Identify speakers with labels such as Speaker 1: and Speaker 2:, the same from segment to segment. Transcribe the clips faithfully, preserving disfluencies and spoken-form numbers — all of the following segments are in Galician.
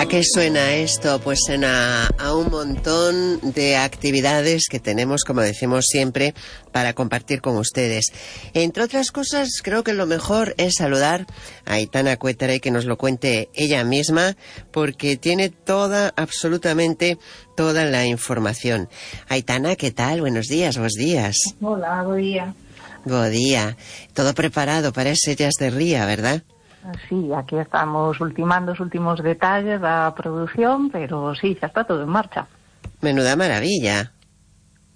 Speaker 1: ¿A qué suena esto? Pues suena a un montón de actividades que tenemos, como decimos siempre, para compartir con ustedes. Entre otras cosas, creo que lo mejor es saludar a Aitana Cuétara y que nos lo cuente ella misma, porque tiene toda, absolutamente toda la información. Aitana, ¿qué tal? Buenos días, buenos días.
Speaker 2: Hola, buen día.
Speaker 1: Buen día. Todo preparado para ese Jazz de Ría, ¿verdad?
Speaker 2: Sí, aquí estamos ultimando os últimos detalles da produción, pero sí, xa está todo en marcha.
Speaker 1: Menuda maravilla.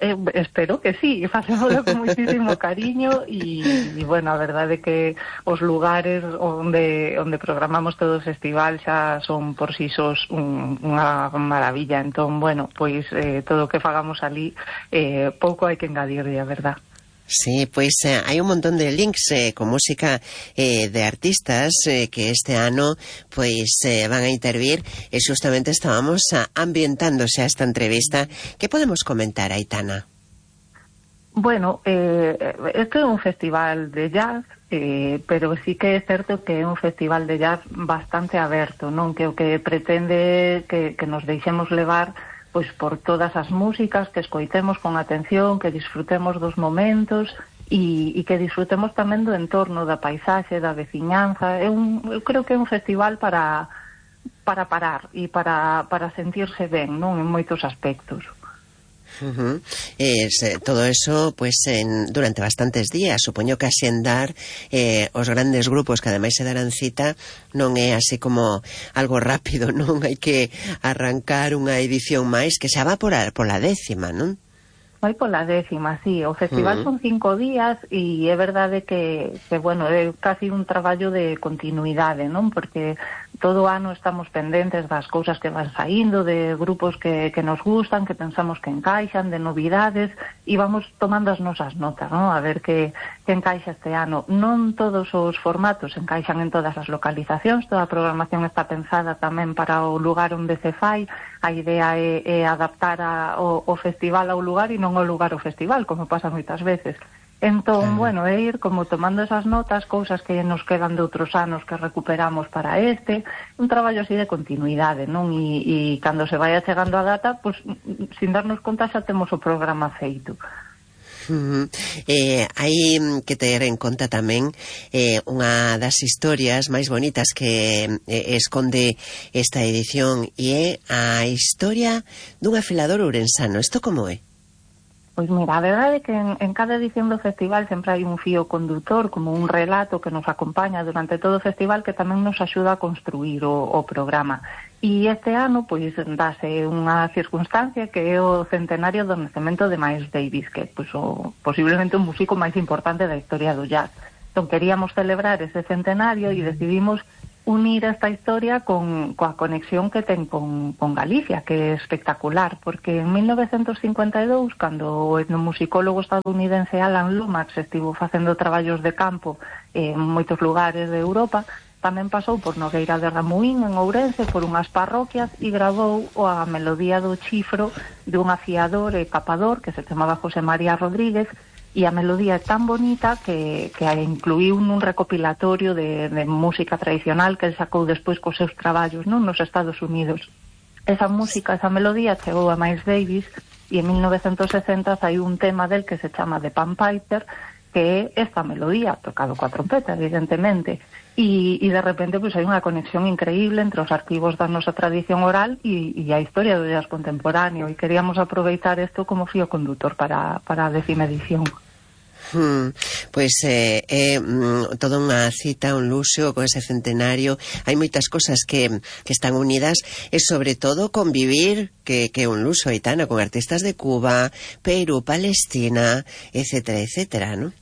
Speaker 2: Eh, espero que sí, facémoslo con muchísimo cariño e, bueno, a verdade é que os lugares onde onde programamos todo o festival xa son por si sós un, unha maravilla. Entón, bueno, pois eh, todo o que fagamos ali eh, pouco hai que engadirlle, a verdad.
Speaker 1: Sí, pues eh, hay un montón de links eh, con música eh, de artistas eh, que este ano pues eh, van a intervir e justamente estábamos uh, ambientándose a esta entrevista. ¿Qué podemos comentar, Aitana?
Speaker 2: Bueno, eh, este é un festival de jazz, eh, pero sí que é certo que é un festival de jazz bastante aberto, non? Que o que pretende que, que nos deixemos levar pois por todas as músicas, que escoitemos con atención, que disfrutemos dos momentos e, e que disfrutemos tamén do entorno, da paisaxe, da veciñanza. É un, eu creo que é un festival para para parar e para, para sentirse ben, non? En moitos aspectos.
Speaker 1: Uh-huh. Es, eh, todo eso pues en, durante bastantes días, supoño que así andar eh, os grandes grupos que ademais se darán cita non é así como algo rápido, non? Hai que arrancar unha edición máis que xa va por a, por a décima, non?
Speaker 2: Vai pola décima, sí. O festival uh-huh. son cinco días e é verdade que, que bueno, é casi un traballo de continuidade, non? Porque todo o ano estamos pendentes das cousas que van saindo, de grupos que, que nos gustan, que pensamos que encaixan, de novidades, e vamos tomando as nosas notas, non? A ver que, que encaixa este ano. Non todos os formatos encaixan en todas as localizacións, toda a programación está pensada tamén para o lugar onde se fai. A idea é, é adaptar a, o, o festival ao lugar e non ao lugar ao festival, como pasa moitas veces. Entón, bueno, é ir como tomando esas notas, cousas que nos quedan de outros anos que recuperamos para este, un traballo así de continuidade, non? E, e cando se vaya chegando a data, pues, sin darnos conta xa temos o programa feito.
Speaker 1: Uh-huh. Eh, hai que ter en conta tamén eh, unha das historias máis bonitas que eh, esconde esta edición e é a historia dun afilador ourensano. Isto como é?
Speaker 2: Pois mira, a verdade é que en, en cada edición do festival sempre hai un fío condutor, como un relato que nos acompaña durante todo o festival que tamén nos axuda a construir o, o programa. E este ano, pois, dase unha circunstancia que é o centenario do nacemento de Miles Davis, que é pois, o, posiblemente o músico máis importante da historia do jazz. Entón, queríamos celebrar ese centenario e decidimos unir esta historia con coa conexión que ten con, con Galicia, que é espectacular, porque en mil novecientos cincuenta e dous, cando o etnomusicólogo estadounidense Alan Lomax estivo facendo traballos de campo en moitos lugares de Europa, tamén pasou por Nogueira de Ramuín, en Ourense, por unhas parroquias e grabou a melodía do chifro de un afiador e capador que se chamaba José María Rodríguez, e a melodía é tan bonita que, que a incluíu nun recopilatorio de, de música tradicional que el sacou despois cos seus traballos, non, nos Estados Unidos. Esa música, esa melodía chegou a Miles Davis e en mil novecientos sesenta saiu un tema del que se chama The Pan Piper, que é esta melodía, tocado coa trompeta, evidentemente, e, e de repente pois, hai unha conexión increíble entre os arquivos da nosa tradición oral e, e a historia do jazz contemporáneo, e queríamos aproveitar isto como fío condutor para, para a décima edición.
Speaker 1: Hmm, pois é eh, eh, mm, toda unha cita, un luxo con ese centenario. Hai moitas cosas que, que están unidas e sobre todo convivir, que, que é un luxo, Aitana, con artistas de Cuba, Perú, Palestina, etcétera, etcétera, non?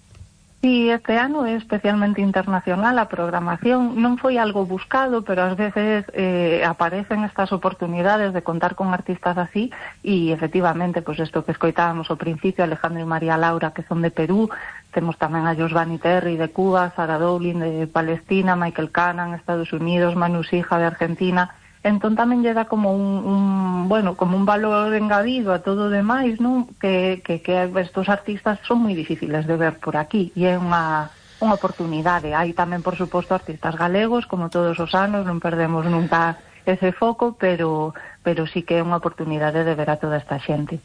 Speaker 2: Sí, este ano é especialmente internacional a programación. Non foi algo buscado, pero ás veces eh, aparecen estas oportunidades de contar con artistas así e, efectivamente, pues isto que escoitábamos ao principio, Alejandro e María Laura, que son de Perú, temos tamén a Josvani Terry de Cuba, Sarah Dowling de Palestina, Michael Cannon, Estados Unidos, Manu Sija de Argentina. Entón tamén lle dá como un, un bueno, como un valor engadido a todo o demais, non? Que, que, que estos artistas son moi difíciles de ver por aquí e é unha, unha oportunidade. Hai tamén, por suposto, artistas galegos, como todos os anos, non perdemos nunca ese foco, pero, pero sí que é unha oportunidade de ver a toda esta xente.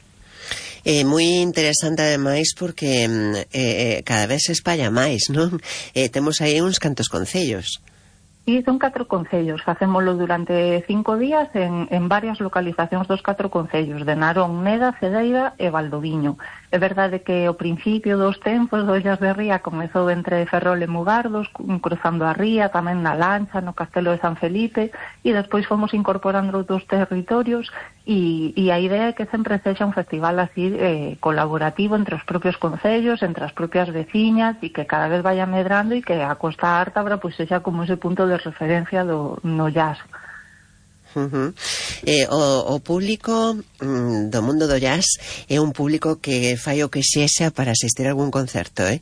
Speaker 1: É eh, moi interesante ademais porque eh, cada vez se espalla máis, non? Eh, temos aí uns cantos concellos.
Speaker 2: Sí, son catro concellos, facémolo durante cinco días en, en varias localizacións dos catro concellos, de Narón, Neda, Cedeira e Valdoviño. É verdade que o principio dos tempos do Ollas de Ría comezou entre Ferrol e Mugardos, cruzando a ría, tamén na Lancha, no Castelo de San Felipe, e despois fomos incorporando outros territorios, e, e a idea é que sempre sexa un festival así eh, colaborativo entre os propios concellos, entre as propias veciñas, e que cada vez vaya medrando e que a Costa Ártabra pois sexa como ese punto de referencia do, no jazz.
Speaker 1: Uh-huh. eh, o, o público mm, do mundo do jazz é un público que fai o que sexa para asistir a algún concerto, eh?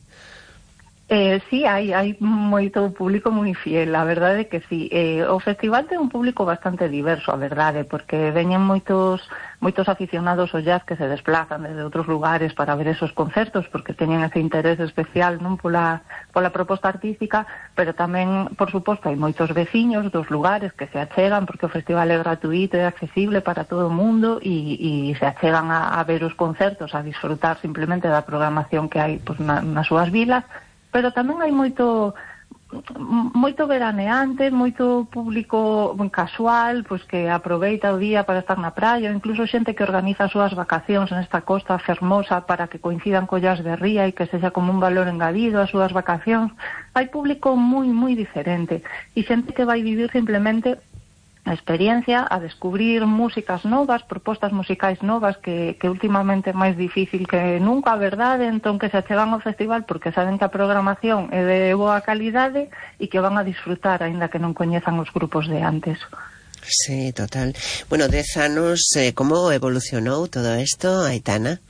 Speaker 2: Eh, sí, hai, hai moito público moi fiel, a verdade é que sí. Eh, o festival ten un público bastante diverso, a verdade, porque veñen moitos moitos aficionados ao jazz que se desplazan desde outros lugares para ver esos concertos, porque teñen ese interés especial non pola, pola proposta artística, pero tamén, por suposto, hai moitos veciños dos lugares que se achegan, porque o festival é gratuito e accesible para todo o mundo, e, e se achegan a, a ver os concertos, a disfrutar simplemente da programación que hai pues, na, nas súas vilas. Pero tamén hai moito moito veraneante, moito público casual, pois que aproveita o día para estar na praia, incluso xente que organiza as súas vacacións nesta costa fermosa para que coincidan collas de ría e que sexa como un valor engadido as súas vacacións. Hai público moi, moi diferente e xente que vai vivir simplemente a experiencia, a descubrir músicas novas, propostas musicais novas que, que últimamente é máis difícil que nunca, a verdade, entón que se achegan ao festival porque saben que a programación é de boa calidade e que van a disfrutar, aínda que non coñezan os grupos de antes.
Speaker 1: Sí, total. Bueno, dez anos, eh, como evolucionou todo isto, Aitana?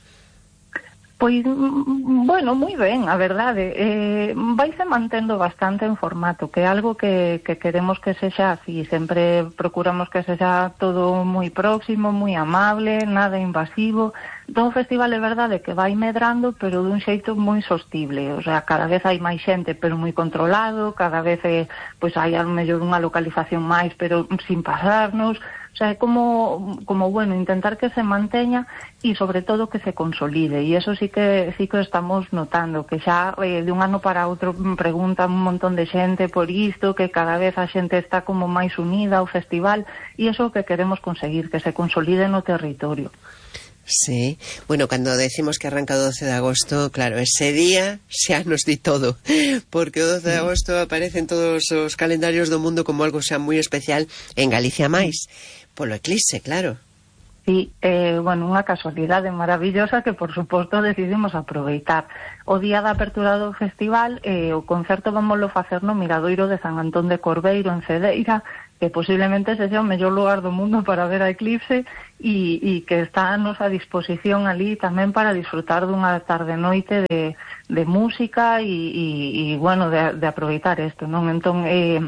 Speaker 2: Pois, bueno, moi ben, a verdade. Eh, vaise mantendo bastante en formato, que é algo que, que queremos que sexa así. Sempre procuramos que sexa todo moi próximo, moi amable, nada invasivo. Entón, o festival é verdade que vai medrando, pero dun xeito moi sostible. O sea, cada vez hai máis xente, pero moi controlado. Cada vez é, pois, hai a mellor unha localización máis, pero sin pasarnos. O sea, é como, como, bueno, intentar que se manteña e, sobre todo, que se consolide. E eso sí que sí que estamos notando, que xa eh, de un ano para outro preguntan un montón de xente por isto, que cada vez a xente está como máis unida ao festival, e eso é o que queremos conseguir, que se consolide no territorio.
Speaker 1: Sí, bueno, cando decimos que arranca o doce de agosto, claro, ese día xa nos di todo, porque o doce de agosto aparece en todos os calendarios do mundo como algo xa moi especial, en Galicia máis, polo eclipse, claro.
Speaker 2: Sí, eh, bueno, unha casualidade maravillosa que, por suposto, decidimos aproveitar. O día da apertura do festival, eh, o concerto vamoslo facer no Miradoiro de San Antón de Corbeiro, en Cedeira, que posiblemente sexa o mellor lugar do mundo para ver a eclipse e, e que está a nosa disposición ali tamén para disfrutar dunha tarde-noite de, de música e, e, e bueno, de, de aproveitar isto, non? Entón, eh,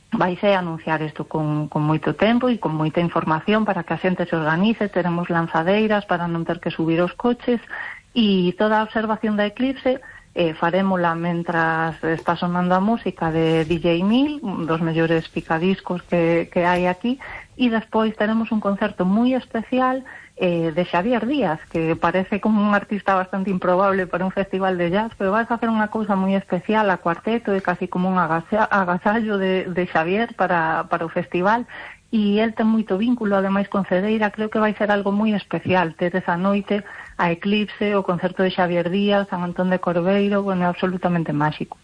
Speaker 2: vaise a anunciar isto con, con moito tempo e con moita información para que a xente se organice. Teremos lanzadeiras para non ter que subir os coches e toda a observación da eclipse eh, farémola mentras está sonando a música de D J Mil, un dos mellores picadiscos que, que hai aquí, e despois teremos un concerto moi especial eh, de Xavier Díaz, que parece como un artista bastante improbable para un festival de jazz, pero vai facer unha cousa moi especial a cuarteto, é casi como un agasallo de, de Xavier para, para o festival, e el ten moito vínculo, ademais, con Cedeira. Creo que vai ser algo moi especial ter esa noite a eclipse, o concerto de Xavier Díaz, San Antón de Corbeiro, bueno, é absolutamente máxico.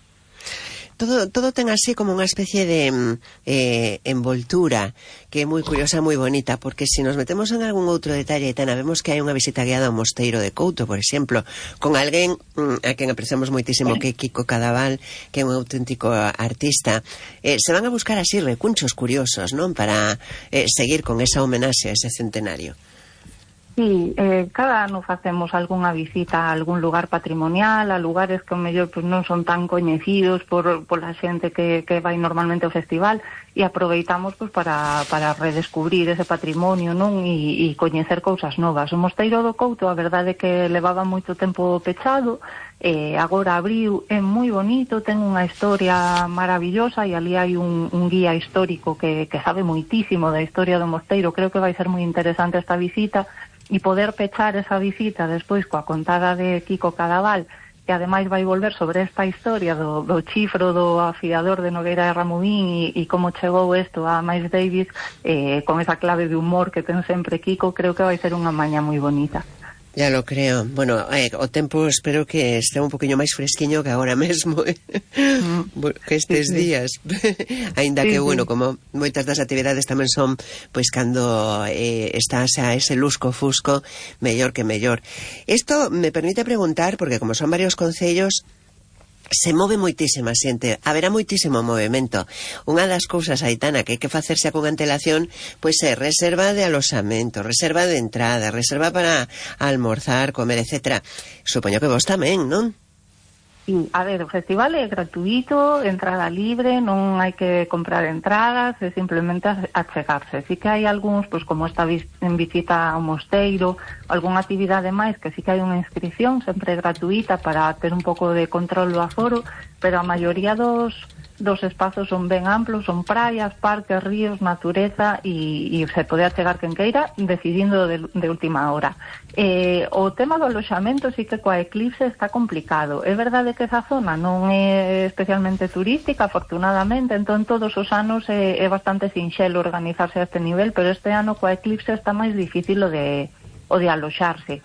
Speaker 1: Todo, todo ten así como unha especie de eh, envoltura que é moi curiosa, moi bonita, porque se nos metemos en algún outro detalle, Aitana, vemos que hai unha visita guiada ao Mosteiro de Couto, por exemplo, con alguén mm, a quen apreciamos moitísimo, que é Kiko Cadaval, que é un auténtico artista. Eh, se van a buscar así recunchos curiosos, non? Para eh, seguir con esa homenaxe a ese centenario.
Speaker 2: Sí, eh, cada ano facemos algunha visita a algún lugar patrimonial, a lugares que o mellor pues, non son tan coñecidos por, por la xente que, que vai normalmente ao festival, e aproveitamos pois, para, para redescubrir ese patrimonio, non? E, e coñecer cousas novas. O Mosteiro do Couto, a verdade é que levaba moito tempo pechado, eh, agora abriu, é moi bonito, ten unha historia maravillosa e ali hai un, un guía histórico que, que sabe moitísimo da historia do mosteiro. Creo que vai ser moi interesante esta visita e poder pechar esa visita despois coa contada de Kiko Cadaval, que ademais vai volver sobre esta historia do, do chifro do afiador de Nogueira de Ramudín e, e como chegou isto a Miles Davis, eh, con esa clave de humor que ten sempre Kiko. Creo que vai ser unha maña moi bonita.
Speaker 1: Ya lo creo. Bueno, eh, o tempo espero que este un poquinho máis fresquiño que agora mesmo, eh? mm. que estes sí, sí. días. Ainda sí, que, sí. bueno, como moitas das actividades tamén son, pois, cando eh, estás a ese lusco fusco, mellor que mellor. Isto me permite preguntar, porque como son varios concellos, se move moitísima xente, haberá moitísimo movimento. Unha das cousas, Aitana, que hai que facerse con antelación, pois é reserva de aloxamento, reserva de entrada, reserva para almorzar, comer, etcétera. Supoño que vos tamén, non?
Speaker 2: Sí, a ver, o festival é gratuito, entrada libre, non hai que comprar entradas, é simplemente achegarse. Sí que hai algúns, pois como esta en visita ao mosteiro, algunha actividade máis que sí que hai unha inscripción, sempre gratuita, para ter un pouco de control do aforo, pero a maioría dos dos espazos son ben amplos, son praias, parques, ríos, natureza e, e se pode achegar quen queira decidindo de, de última hora. Eh, o tema do aloxamento sí que coa eclipse está complicado. É verdade que esa zona non é especialmente turística, afortunadamente, entón todos os anos é, é bastante sinxelo organizarse a este nivel, pero este ano coa eclipse está máis difícil o de, o de aloxarse.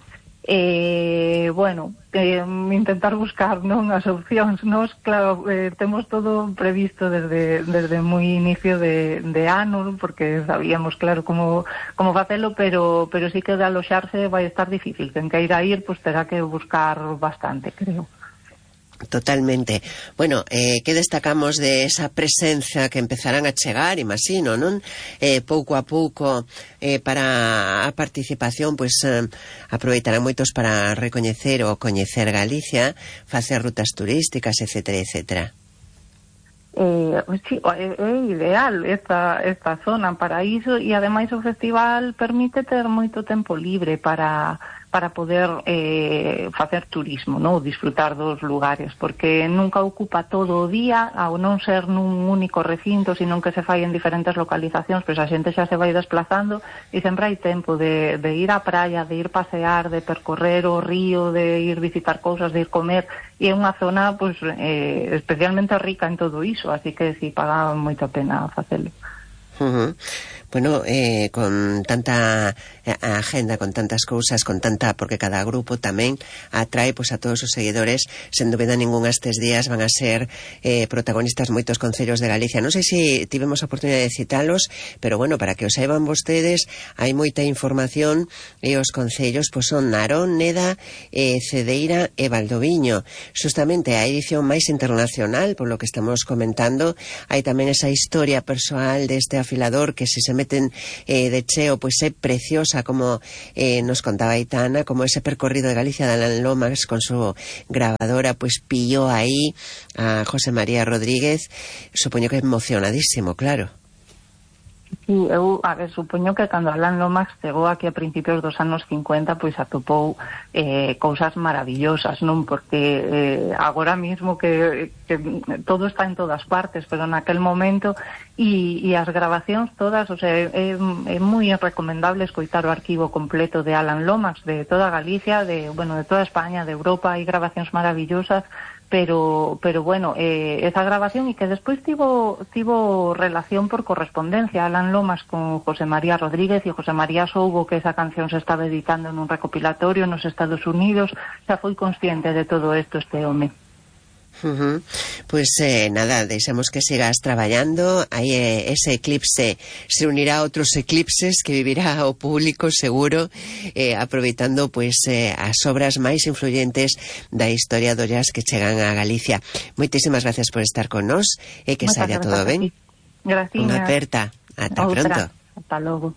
Speaker 2: Eh, bueno, eh, intentar buscar non as opcións. Nos, claro, eh, temos todo previsto desde desde moi inicio de, de ano, porque sabíamos, claro, como, como facelo, pero, pero sí que de aloxarse vai estar difícil. Quen queira ir, pues terá que buscar bastante, creo.
Speaker 1: Totalmente. Bueno, eh, que destacamos de esa presenza que empezarán a chegar, imagino, non? Eh, pouco a pouco eh, para a participación, pois eh, aproveitarán moitos para recoñecer ou coñecer Galicia, facer rutas turísticas, etcétera, etcétera.
Speaker 2: Eh, sí, é, é ideal esta, esta zona para iso, e ademais o festival permite ter moito tempo libre para para poder eh, facer turismo, no? Disfrutar dos lugares, porque nunca ocupa todo o día, ao non ser nun único recinto, sino que se fai en diferentes localizacións, pois a xente xa se vai desplazando e sempre hai tempo de, de ir á praia, de ir pasear, de percorrer o río, de ir visitar cousas, de ir comer, e é unha zona pois, eh, especialmente rica en todo iso, así que si paga moita pena facelo.
Speaker 1: Uh-huh. Bueno, eh, con tanta eh, agenda, con tantas cousas, con tanta, porque cada grupo tamén atrae pois a todos os seguidores, sen dúbida ninguna estes días van a ser eh, protagonistas moitos concellos de Galicia. Non sei se tivemos a oportunidade de citalos, pero bueno, para que o saiban vostedes, hai moita información e os concellos pois son Narón, Neda, eh, Cedeira e Valdoviño. Justamente a edición máis internacional, por lo que estamos comentando, hai tamén esa historia persoal deste afilador que se se meten eh, de cheo, pois é preciosa, como eh, nos contaba Aitana, como ese percorrido de Galicia de Alan Lomax con su grabadora, pois pilló aí a José María Rodríguez, supoño que emocionadísimo, claro.
Speaker 2: Sí, eu, a ver, supoño que cando Alan Lomax chegou aquí a principios dos anos cincuenta, pois atopou eh, cousas maravillosas, non? Porque eh, agora mismo que, que todo está en todas partes, pero naquel momento e, e as grabacións todas, o sea, é, é moi recomendable escoitar o arquivo completo de Alan Lomax, de toda Galicia, de, bueno, de toda España, de Europa, hai grabacións maravillosas, pero pero bueno, eh, esa grabación, e que despois tivo tivo relación por correspondencia Alan Lomax con José María Rodríguez, e José María soubo que esa canción se estaba editando nun recopilatorio nos Estados Unidos, xa foi consciente de todo isto este home.
Speaker 1: Uh-huh. Pois eh, nada, deixamos que sigas traballando. Aí eh, ese eclipse se unirá a outros eclipses que vivirá o público seguro, eh, aproveitando pois eh, as obras máis influyentes da historia do jazz que chegan a Galicia. Moitísimas gracias por estar con nós e que saia todo ben.
Speaker 2: Gracias.
Speaker 1: Unha aperta. Ata pronto.
Speaker 2: Hasta logo.